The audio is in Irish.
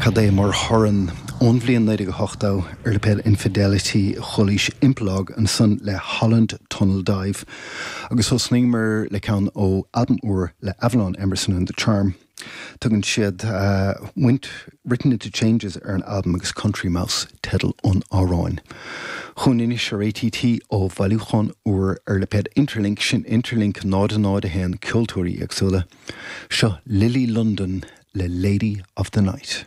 Cad é mar thorann ón bhliain 1980 ar lipéad Infidelity chualaís Impalach ansan le Holland Tunnel Dive agus thosnaíomar le ceann ó albam úr le Avalon Emerson and the Charm. Tugann siad Went Written Into Changes ar an albam agus Country Mouse teideal an amhráin. Chugainn anois ar ATT ó bhailiúchán úr ar lipéad Interlink, sin Interlink 0 0 1 ceoltóirí éagsúla. Seo Lily London le Lady of the Night.